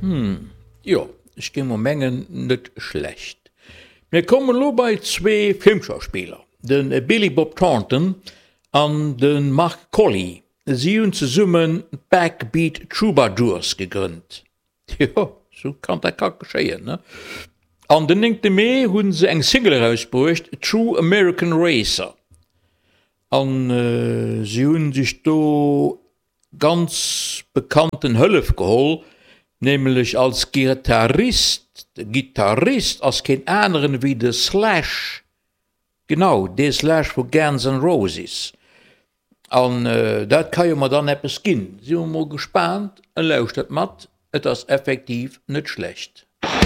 Hm, jo, ech géing mol mengen, net schlecht. Mir kommen elo bei zwee Filmschauspiller, de Billy Bob Thornton an de Mark Collie. Si hunn zesummen d'Backbeat Troubadours gegrënnt. Jo, sou kann dat ka geschéien, ne? An den néngte Mee hu se eng Single erausbruecht, True American Racer. An si hu sech do ganz bekannten Hëllef geholl, nämlech als Gitarrist, de Gittarist ass keen aneren ewéi de Slash, genau, dee Slash vu Guns N' Roses. An dat ka jo mer dann eppes ginn. Si mer mol gespaant, lauschtert mat, et ass effektiv net schlecht.